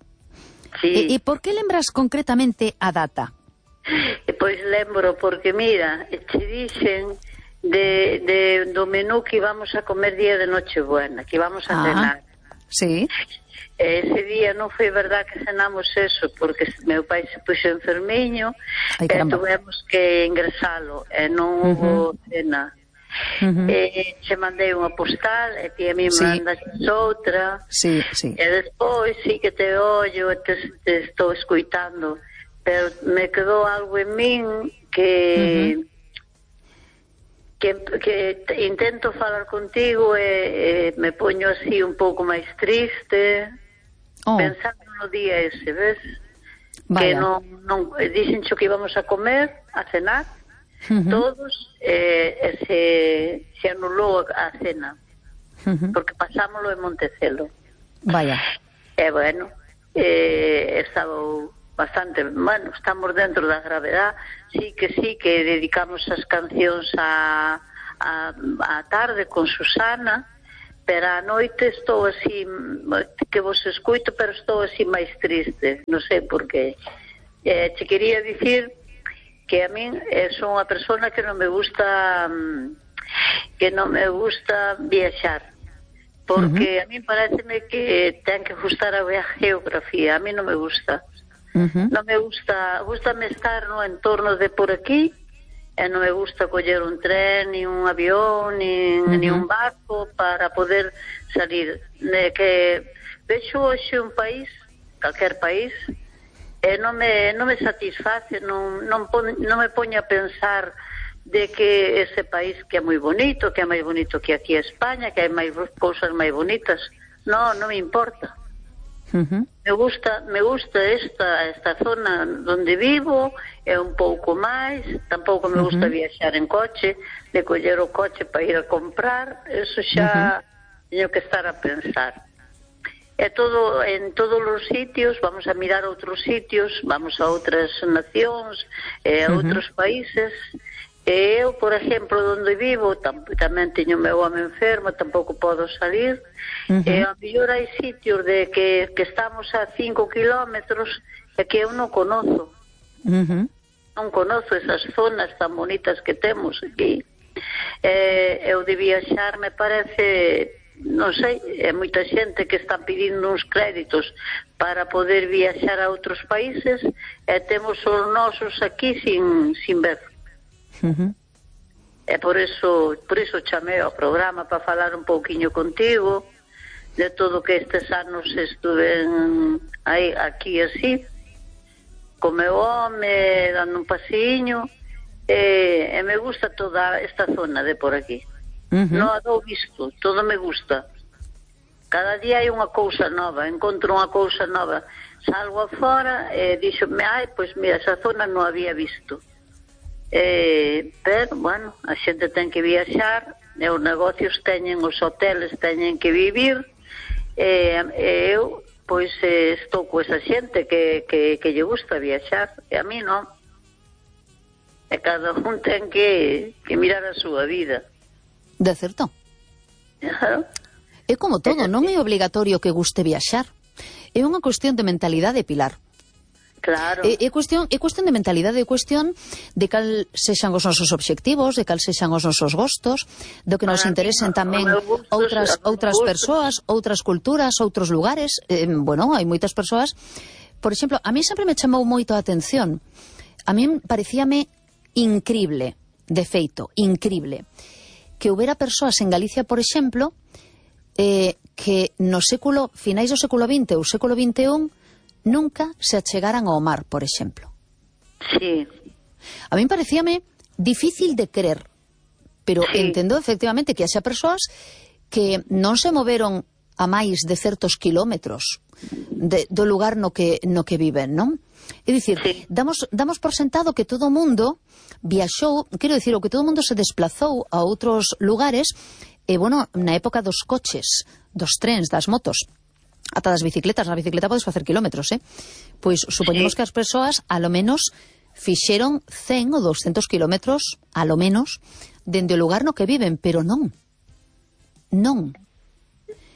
[SPEAKER 4] Sí.
[SPEAKER 1] E, e por que lembras concretamente a data?
[SPEAKER 4] E pois lembro porque mira, che dixen de, de do menú que íbamos a comer día de Nochebuena, que íbamos a ah, cenar.
[SPEAKER 1] Sí.
[SPEAKER 4] Ese día non foi verdad que cenamos eso, porque meu pai se puxo enfermiño. Ay, e tuvemos que ingresalo e non uh-huh. hubo cena. Uh-huh. E che mandei unha postal e ti a mí sí. mandas outra.
[SPEAKER 1] Sí, sí.
[SPEAKER 4] E despois sí que te ollo e te, te estou escuitando, pero me quedou algo en min que... Uh-huh. Que, que intento falar contigo e, e me poño así un pouco máis triste, oh. pensando no día ese, ves? Vaya. Que non, non dixen xo que íbamos a comer, a cenar, uh-huh. todos, e, e se, se anulou a cena, uh-huh. porque pasámoslo en Montecelo.
[SPEAKER 1] Vaya.
[SPEAKER 4] E bueno, e, estaba bastante, bueno, estamos dentro da gravedad, sí que sí que dedicamos as cancións a, a, a tarde con Susana, pero a noite estou así, que vos escuito, pero estou así máis triste, non sei por qué. Eh, te quería dicir que a min eh, son unha persona que non me gusta que non me gusta viaxar, porque uh-huh. a min pareceme que ten que gustar a geografía, a mí non me gusta. Uh-huh. Non me gusta, gustame estar no entorno de por aquí, e non me gusta coller un tren, ni un avión, ni, uh-huh. ni un barco para poder salir. De que vexo hoxe un país, calquer país, e non me, non me satisface, non, non, pon, non me poño a pensar de que ese país que é moi bonito, que é máis bonito que aquí a España, que hai máis cousas máis bonitas. Non, non me importa. Uh-huh. Me gusta, me gusta esta esta zona onde vivo, é un pouco máis, tampouco me gusta uh-huh. viaxar en coche, de coller o coche para ir a comprar, eso xa uh-huh. teño que estar a pensar. É todo, en todos os sitios, vamos a mirar outros sitios, vamos a outras nacións, e a uh-huh. outros países. E eu, por exemplo, onde vivo, tam, tamén teño meu home enfermo, tampouco podo salir, uh-huh. e a mellor hai sitios de que, que estamos a cinco kilómetros e que eu non conozo. Uh-huh. Non conozo esas zonas tan bonitas que temos aquí. E, eu de viaxar me parece, non sei, é moita xente que está pedindo uns créditos para poder viaxar a outros países e temos os nosos aquí sin, sin ver. Uh-huh. E por eso por eso chamei ao programa para falar un pouquiño contigo de todo que estes anos estuve aí, aquí así co meu home, dando un pasiño, e, e me gusta toda esta zona de por aquí. Uh-huh. Non a dou visto, todo me gusta. Cada día hai unha cousa nova, encontro unha cousa nova. Salgo afora e díxome, ai, pois mira, esa zona non había visto. Eh, pero, bueno, a xente ten que viaxar, e os negocios teñen, os hoteles teñen que vivir, e, e eu, pois, eh, estou co esa xente que, que, que lle gusta viaxar, e a mí non. E cada un ten que, que mirar a súa vida.
[SPEAKER 1] De certo.
[SPEAKER 4] Claro.
[SPEAKER 1] É como todo, non é obligatorio que guste viaxar. É unha cuestión de mentalidade, Pilar.
[SPEAKER 4] Claro.
[SPEAKER 1] É, é, cuestión, é cuestión de mentalidade, é cuestión de cal sexan os nosos obxectivos, de cal sexan os nosos gostos, do que nos Para interesen mí, tamén gustos, outras outras persoas, outras culturas, outros lugares. Eh, bueno, hai moitas persoas. Por exemplo, a mí sempre me chamou moito a atención. A mí parecíame incrible, de feito, incrible, que houbera persoas en Galicia, por exemplo, eh, que no século, finais do século vinte ou século vinte e un, nunca se achegaran ao mar, por exemplo.
[SPEAKER 4] Sí.
[SPEAKER 1] A min parecíame difícil de creer, pero sí. Entendo efectivamente que haxa persoas que non se moveron a máis de certos kilómetros de, do lugar no que, no que viven, non? É dicir, sí. damos, damos por sentado que todo o mundo viaxou, quero dicir, o que todo o mundo se desplazou a outros lugares, e, bueno, na época dos coches, dos trens, das motos, ata das bicicletas, na bicicleta podes facer kilómetros, eh? Pois supoñemos sí. que as persoas, a lo menos, fixeron cen ou doscientos kilómetros, a lo menos, dende o lugar no que viven, pero non. Non.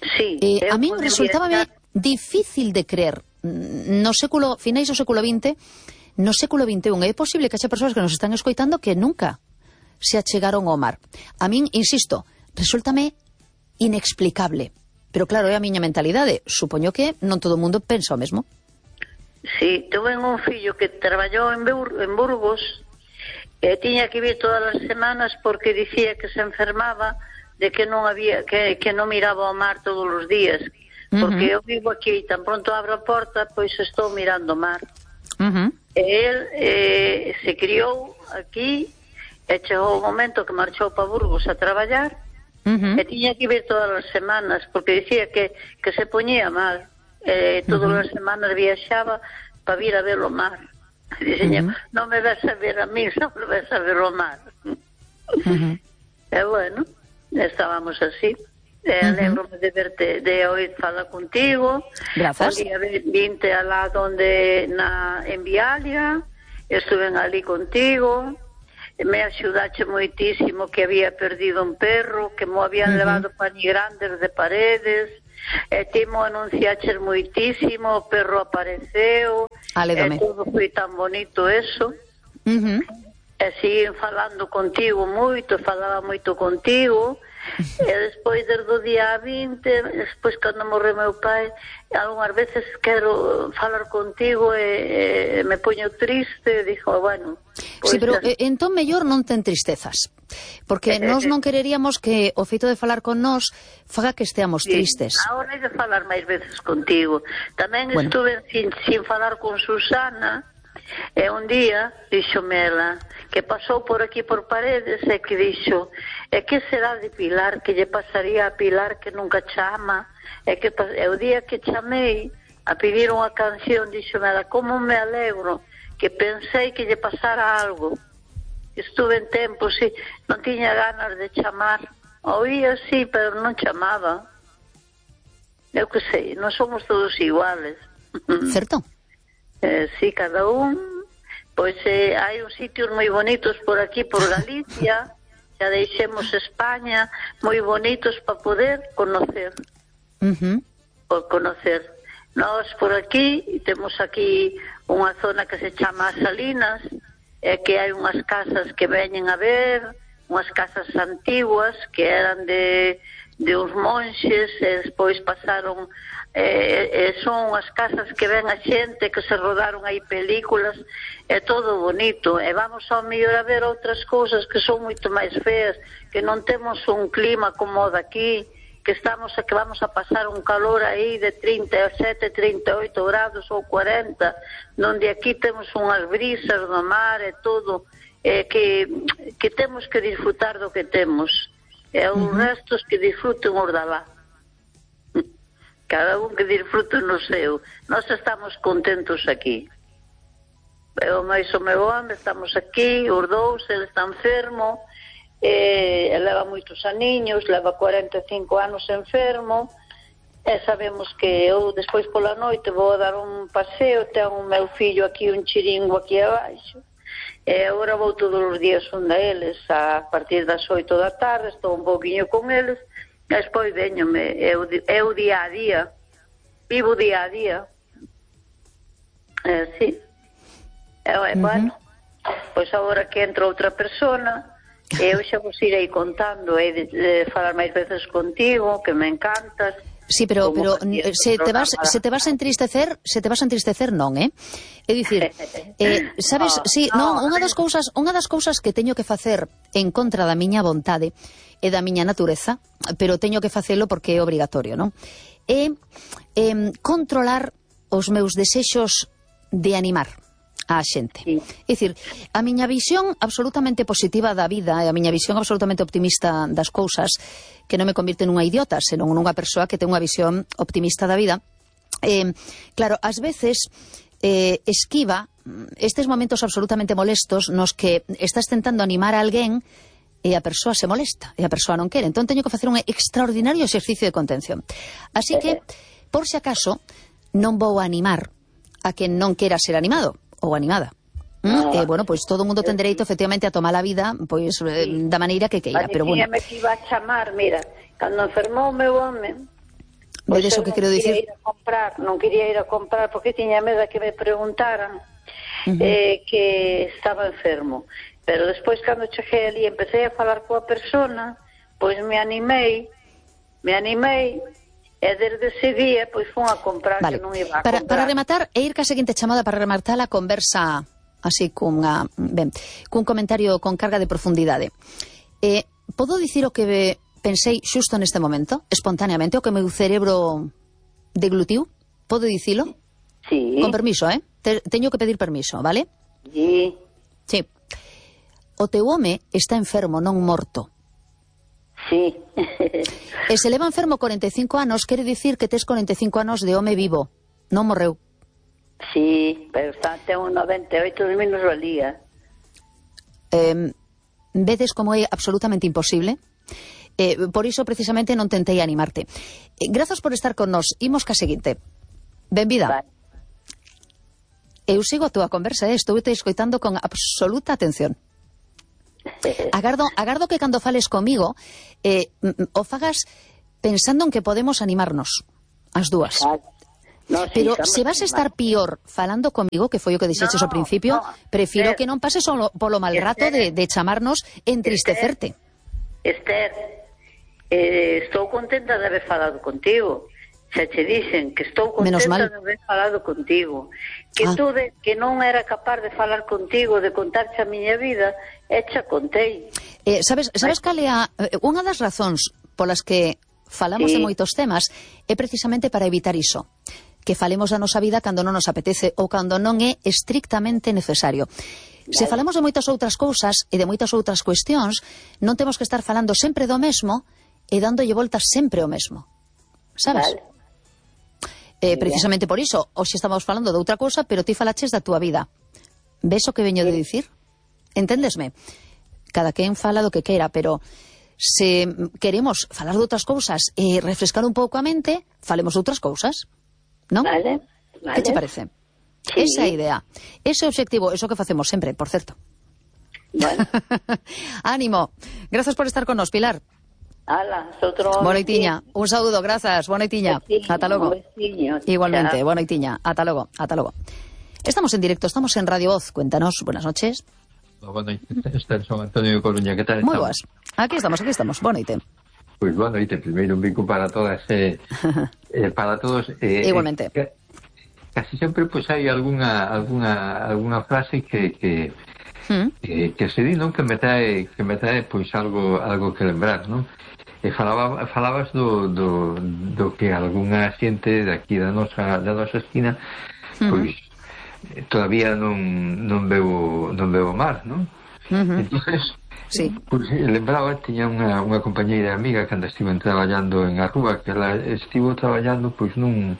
[SPEAKER 4] Sí.
[SPEAKER 1] Eh, a mí resultábame difícil de creer. No século, finais do século vinte, no século vinte e un, é posible que haxa persoas que nos están escoitando que nunca se achegaron ao mar. A min, insisto, resúltame inexplicable. Pero claro, é a miña mentalidade. Supoño que non todo o mundo pensa o mesmo.
[SPEAKER 4] Sí, tuve un fillo que traballou en, Bur en Burgos e tiña que vir todas as semanas porque dicía que se enfermaba de que non había que, que non miraba o mar todos os días. Porque uh-huh. eu vivo aquí e tan pronto abro a porta, pois estou mirando o mar. Uh-huh. E el eh, se criou aquí e chegou o momento que marchou para Burgos a traballar. Uh-huh. E tiña que vir todas as semanas porque dicía que, que se poñía mal, eh, todas uh-huh. as semanas viaxaba para vir a ver o mar. Dicía, uh-huh. non me ves a ver a mí, só me ves a ver o mar. Uh-huh. E bueno, estábamos así. E uh-huh. alegro-me de verte, de oír falar contigo.
[SPEAKER 1] Grazas.
[SPEAKER 4] O día vinte alá donde na, en Vialia, estuve ali contigo. Me axudache moitísimo, que había perdido un perro, que mo habían uh-huh. levado pani grandes de Paredes, e ti mo anunciaches moitísimo, o perro apareceu,
[SPEAKER 1] Alédome.
[SPEAKER 4] E todo foi tan bonito eso.
[SPEAKER 1] Uh-huh.
[SPEAKER 4] E siguen falando contigo moito, falaba moito contigo, e despois desde o día vinte, despois cando morreu meu pai, algunhas veces quero falar contigo e, e me poño triste, e dixo, bueno...
[SPEAKER 1] Pues, sí, pero eh, entón mellor non ten tristezas, porque eh, nós non quereríamos que o feito de falar con nós faga que esteamos sí, tristes.
[SPEAKER 4] Agora hai de falar máis veces contigo. Tamén bueno. estuve sin, sin falar con Susana, e un día díxome ela que pasou por aquí por Paredes e que dixo, e que será de Pilar, que lle pasaría a Pilar que nunca chama, e que e o día que chamei a pedir unha canción, díxome ela, como me alegro que pensei que lle pasara algo. Estuve en tempo, sí, non tiña ganas de chamar, oía sí, pero non chamaba. Eu que sei, non somos todos iguales.
[SPEAKER 1] Certo.
[SPEAKER 4] Eh, sí, cada un, pois eh, hai uns sitios moi bonitos por aquí, por Galicia, xa deixemos España, moi bonitos para poder conocer.
[SPEAKER 1] Uh-huh.
[SPEAKER 4] Por conocer. Nós por aquí temos aquí unha zona que se chama Salinas, e que hai unhas casas que veñen a ver, unhas casas antiguas que eran de, de uns monxes, e despois pasaron... Eh, eh, son as casas que ven a xente, que se rodaron aí películas, é todo bonito, e vamos ao mellor a ver outras cousas que son moito máis feas, que non temos un clima como o daqui, que estamos que vamos a pasar un calor aí de trinta e sete, trinta e oito grados ou cuarenta, donde aquí temos unhas brisas do mar e todo, eh, que, que temos que disfrutar do que temos. E os uh-huh. restos que disfruten os da lá. Cada un que disfrute no seu. Nós estamos contentos aquí. Eu máis o meu home, estamos aquí, os dous, ele está enfermo, eh, leva moitos aniños, leva cuarenta e cinco anos enfermo, e sabemos que eu despois pola noite vou dar un paseo, ten o meu fillo aquí, un chiringo aquí abaixo, e agora vou todos os días onde eles, a partir das oito da tarde, estou un pouquinho con eles, e despois veñome, é o, é o día a día, vivo día a día, é así. E, uh-huh. bueno, pois agora que entra outra persona, eu xa vos irei contando, e de, de falar máis veces contigo, que me encantas.
[SPEAKER 1] Sí, pero pero se te vas se te vas a entristecer, se te vas a entristecer non, eh? É dicir, eh, sabes, no, sí, no, non, unha das cousas, unha das cousas que teño que facer en contra da miña vontade e da miña natureza, pero teño que facelo porque é obrigatorio, non? É eh, controlar os meus desexos de animar a xente. Sí. É dicir, a miña visión absolutamente positiva da vida e a miña visión absolutamente optimista das cousas, que non me convirte nunha idiota, senón nunha persoa que ten unha visión optimista da vida, eh, claro, ás veces eh, esquiva estes momentos absolutamente molestos nos que estás tentando animar a alguén e a persoa se molesta, e a persoa non quere. Entón teño que facer un extraordinario exercicio de contención. Así que, por si acaso, non vou animar a quen non quera ser animado ou animada. ¿Mm? Eh, bueno, pois pues, todo o mundo ten dereito efectivamente a tomar a vida pois pues, eh, da maneira que queira, pero bueno.
[SPEAKER 4] Me que iba a chamar, mira, cando enfermou o meu home,
[SPEAKER 1] pois pues, eso que quero dicir.
[SPEAKER 4] Ir a comprar, non quería ir a comprar porque tiña medo que me preguntaran uh-huh. eh, que estaba enfermo. Pero despois cando cheguei ali e empecé a falar coa persona, pois me animei, me animei. E desde ese día, pois, fun a comprar, vale. Que non iba a
[SPEAKER 1] para,
[SPEAKER 4] comprar.
[SPEAKER 1] Para rematar, e ir ca seguinte chamada para rematar a conversa así cunha, ben, cun comentario con carga de profundidade. Eh, podo dicir o que pensei xusto neste momento, espontaneamente, o que meu cerebro deglutiu? Podo dicilo?
[SPEAKER 4] Sí.
[SPEAKER 1] Con permiso, eh? Te, teño que pedir permiso, vale?
[SPEAKER 4] Sí.
[SPEAKER 1] Sí. O teu home está enfermo, non morto.
[SPEAKER 4] Sí.
[SPEAKER 1] E se leva enfermo corenta e cinco anos, quere dicir que tes corenta e cinco anos de home vivo, non morreu.
[SPEAKER 4] Sí, pero está ten un noventa e oito menos valía.
[SPEAKER 1] Eh, vedes como é absolutamente imposible? Eh, por iso precisamente non tentei animarte. Eh, grazas por estar con nós. Imos ca seguinte. Benvida. Vale. Eu sigo a túa conversa, eh? Estou te escoitando con absoluta atención. Agardo, agardo que cando fales comigo eh, o fagas pensando en que podemos animarnos as dúas.
[SPEAKER 4] No, sí,
[SPEAKER 1] pero se vas a estar pior falando comigo, que foi o que dixeches no, ao principio, no, prefiro Esther, que non pases solo polo mal rato Esther, de, de chamarnos e entristecerte.
[SPEAKER 4] Esther, eh, estou contenta de haber falado contigo. Se che dicen que estou contenta de haber falado contigo, que ah. tú de, que non era capaz de falar contigo, de contarche a miña vida, e xa contei.
[SPEAKER 1] Eh, sabes, sabes cal é a, unha das razóns polas que falamos sí. de moitos temas é precisamente para evitar iso, que falemos da nosa vida cando non nos apetece ou cando non é estrictamente necesario. Vale. Se falamos de moitas outras cousas e de moitas outras cuestións, non temos que estar falando sempre do mesmo e dándolle voltas sempre o mesmo. Sabes? Vale. Eh, precisamente por iso, hoxe estamos falando de outra cousa, pero ti falaches da túa vida. Ves o que veño de dicir? Entendesme? Cada quen fala do que queira, pero se queremos falar de outras cousas e refrescar un pouco a mente, falemos de outras cousas, non?
[SPEAKER 4] Vale, vale.
[SPEAKER 1] Que te parece? Sí. Esa é a idea. Ese é o obxectivo, eso que facemos sempre, por certo.
[SPEAKER 4] Vale.
[SPEAKER 1] Ánimo. Grazas por estar con nos, Pilar.
[SPEAKER 4] Ala, outro
[SPEAKER 1] Boa noitiña, un saúdo, grazas, boa noitiña, ata logo. Igualmente, boa noitiña, ata logo, ata logo. Estamos en directo, estamos en Radio Voz, cuéntanos, buenas noches.
[SPEAKER 5] Boa noite, Esther, son Antonio de Coruña, que tal?
[SPEAKER 1] Moi boas, aquí estamos, aquí estamos, boa noite.
[SPEAKER 5] Pois boa noite, primeiro un bico para todas, eh, eh, para todos. Eh,
[SPEAKER 1] Igualmente.
[SPEAKER 5] Eh, casi sempre pois hai algunha, algunha, algunha frase que... que Mm. Que, que se di, non? Que me trae, que me trae pois algo algo que lembrar, non? e falaba, falabas do, do, do que algunha xente daqui da nosa, da nosa esquina pois uh-huh. todavía non, non veo non veo o mar, non? Uh-huh. Entonces sí. Pois lembraba, tiña unha, unha compañeira amiga cando estiven traballando en Arrúa, que ela estivo traballando pois nun,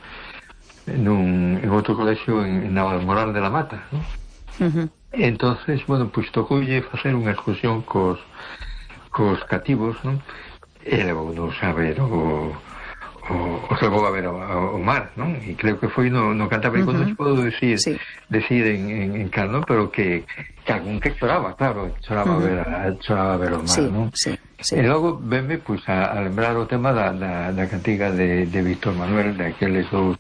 [SPEAKER 5] nun en outro colexio en, en Navalmoral de la Mata, non? Uh-huh. Entonces, bueno, pois tocoulle facer unha excursión cos cos cativos, non? E levou-nos a ver o, o, o levou a ver o, o mar, non? E creo que foi no, no Cantábrico, uh-huh. non se podo decir, sí. decir en, en, en cal, non? Pero que, que algún que choraba, claro, choraba, uh-huh. ver, a, choraba ver o mar, sí, non?
[SPEAKER 1] Sí, sí.
[SPEAKER 5] E logo venme, pois, a, a lembrar o tema da, da, da cantiga de, de Víctor Manuel, de aqueles dous,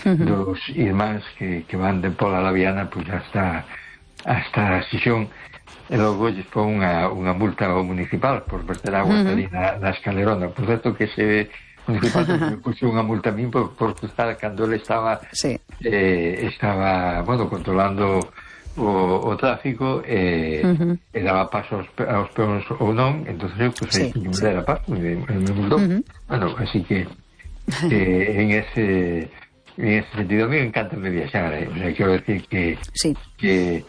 [SPEAKER 5] uh-huh. dos irmáns que, que van de Pola a la Viana, pois, hasta, hasta Xixón. E logo lles pon unha, unha multa ao municipal por verter agua uh-huh. ali na, na escalerona. Por certo que ese municipal me puxo unha multa a min por, por cruzar cando ele estaba sí. eh, estaba, bueno, controlando o, o tráfico e, uh-huh. e daba paso aos, aos peóns ou non, entonces eu pues, sí, aí me sí. dera paso e me, me multou. Uh-huh. Bueno, así que eh, en ese en ese sentido a mí me encanta me viaxar, eh? O sea, quero decir que sí. que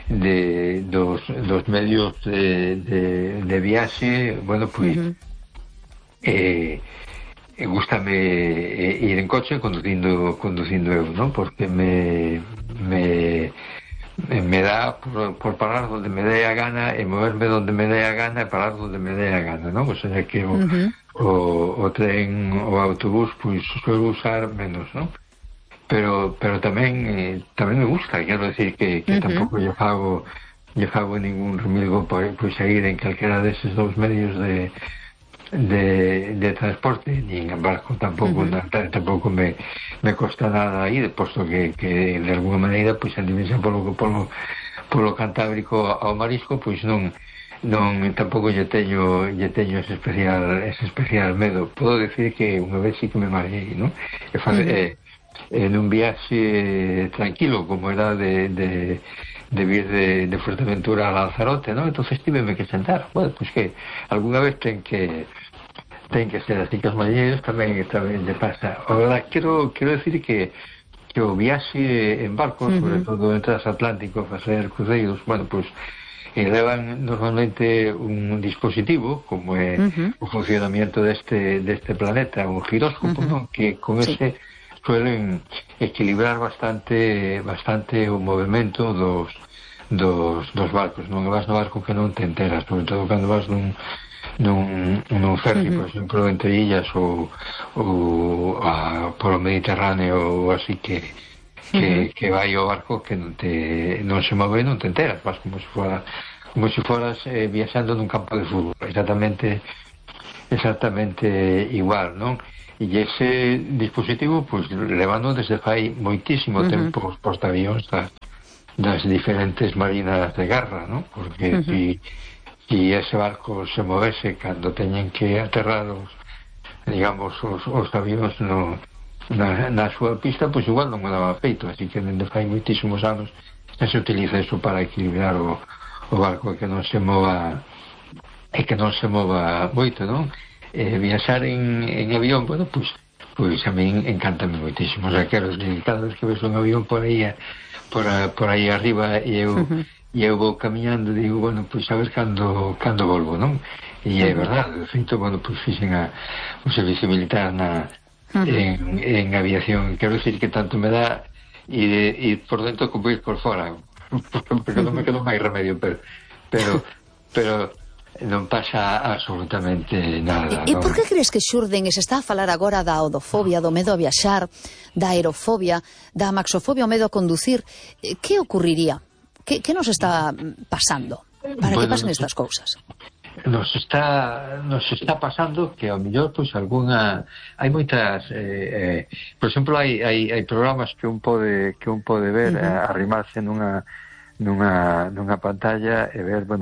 [SPEAKER 5] de dos, dos medios de, de, de viaxe, bueno, pois pues, uh-huh. eh, gústame eh, ir en coche conducindo conducindo eu, non? Porque me me me dá por, por parar donde me dé a gana e moverme donde me dé a gana e parar donde me dé a gana, non? O sea que o, uh-huh. o, o tren, o autobús, pois pues, suelo usar menos, non? pero pero tamén eh, tamén me gusta, quero decir que, que uh-huh. tampouco lle fago lle fago ningún remilgo por, por seguir en calquera deses dous medios de de, de transporte, nin en barco tampouco, uh-huh. na, tampouco me, me costa nada ir, posto que, que de alguna maneira pois a dimensión polo, polo, polo Cantábrico ao marisco pois non non tampouco lle teño lle teño ese especial ese especial medo. Podo decir que unha vez sí que me mareei, non? E fa, uh-huh. eh, en un viaxe tranquilo como era de, de, de vir de, de Fuerteventura a Lanzarote, ¿no? Entonces tíveme que sentar. Bueno, pues que alguna vez ten que ten que ser así, que os mariñeiros tamén tamén lle pasa. Ahora, quero, quero decir que que o viaxe en barco, uh-huh. sobre todo en transatlántico, facer cruzeiros, bueno, pues elevan normalmente un dispositivo como é uh-huh. o funcionamiento deste deste planeta, un giróscopo, uh-huh. ¿no? Que con sí. ese suelen equilibrar bastante bastante o movimento dos dos, dos barcos. Non vas no barco que non te enteras, sobre todo cando vas nun nun, nun ferry, uh-huh. por exemplo, entre illas ou, ou a, por o Mediterráneo ou así que que, uh-huh. que vai o barco que non te non se move, non te enteras, vas como se fora como se foras eh, viaxando nun campo de fútbol, exactamente exactamente igual, non? E ese dispositivo pues, levando desde fai moitísimo uh-huh. tempo os portaavións das, das diferentes marinas de guerra, ¿no? Porque uh-huh. si, si ese barco se movese cando teñen que aterrar os, digamos, os, os avións no, na, na súa pista, pues igual non me daba feito, así que desde fai moitísimos anos se utiliza eso para equilibrar o, o barco, que non se mova e que non se mova moito, non? Eh, viaxar en, en avión, bueno, pues, pues a min encantame moitísimo. O sea, quero decir, cada vez que ves un avión por aí por, a, por aí arriba e eu, uh-huh. e eu vou camiñando, digo, bueno, pues a ver cando, cando volvo, non? E é verdade, de feito, bueno, pues fixen a, o servicio militar na, uh-huh. en, en aviación. Quero decir que tanto me dá ir, ir por dentro como ir por fora, porque non me quedo máis remedio, pero pero, pero non pasa absolutamente nada.
[SPEAKER 1] E, e por que crees que xurden, e se está a falar agora da odofobia, do medo a viaxar, da aerofobia, da maxofobia, o medo a conducir? Que ocurriría? Que, que nos está pasando para bueno, que pasen estas cousas?
[SPEAKER 5] Nos está nos está pasando que ao mellor pois algunha hai moitas eh, eh, por exemplo hai, hai, hai programas que un pode que un pode ver uh-huh. eh, arrimarse nunha nunha nunha pantalla e ver, bueno,